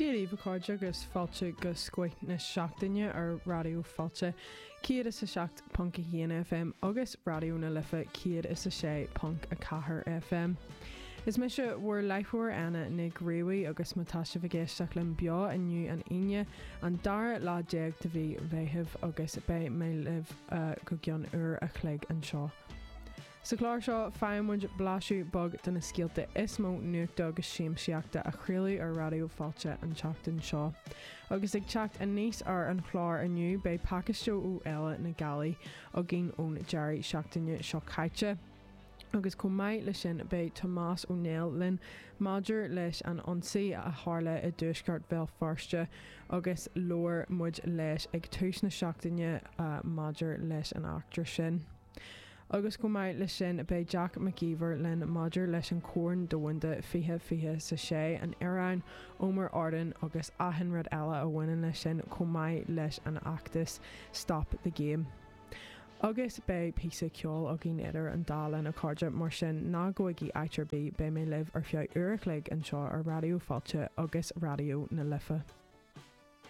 Dia daoibh a chairde agus fáilte go Scoith na Seachtaine ar Raidió Fáilte 107.1 FM agus Raidió na Life 106.4 FM. Is mise bhur láithreoir Anna Nic Riabhaigh agus má tá sibh ag éisteacht linn beo inniu an Aoine an dara lá déag de mhí Mheithimh agus beidh mé libh go gceann uair a chloig anseo. Sa chlár seo, faigheann muid blaiseadh beag de na scéalta is mó nuachta agus siamsaíochta a craoladh ar Raidió Fáilte an tseachtain seo. Agus ag teacht aníos ar an chlár inniu, beidh pacáiste ó Fhéile na Gealaí againn ón deireadh seachtaine seo caite. Agus chomh maith leis sin, beidh Tomás Ó Néill linn maidir leis an ionsaí a tharla i dtuaisceart Bhéal Feirste agus labhair muid leis ag tús na seachtaine maidir leis an eachtra sin. Agus chomh maith leis sin, beidh Jack Mac Íomhair linn maidir leis an Chorn Domhanda 2026, an Iaráin, Omar Arden agus achan rud eile a bhaineann leis sin, chomh maith leis an fheachtas Stop the Game. Agus beidh píosa ceoil againn idir an dá linn, a chairde, mar sin ná gabhaigí áit ar bith, beidh mé libh ar feadh uair a chloig anseo ar Raidió Fáilte agus Raidió na Life.